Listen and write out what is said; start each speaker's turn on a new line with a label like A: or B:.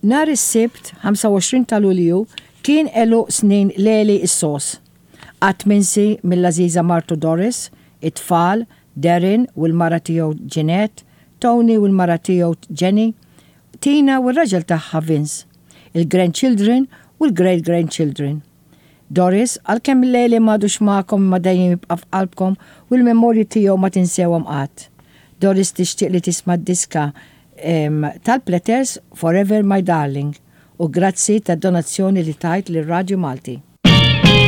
A: Nhar is-Sibt, 25 ta' Lulju, kien għeluq snin Leli s-Sos. Qatt minsi mill-għażiża martu Doris, it-tfal, Darren u l-mara tiegħu Jeanette, Tony u l-mara tiegħu Jenny, Tina u r-raġel tagħha Vince, il-grandchildren u l-great grandchildren. Doris, għalkemm Leli m'għadux magħkom imma dejjem jibqa' f'qalbkom u l-memorji tiegħu ma tinsewhom qatt. Doris tixtieq li tisma' d-diska tal-Platters Forever My Darling u grazzi tad-donazzjoni li tajt lir-Radju Malti.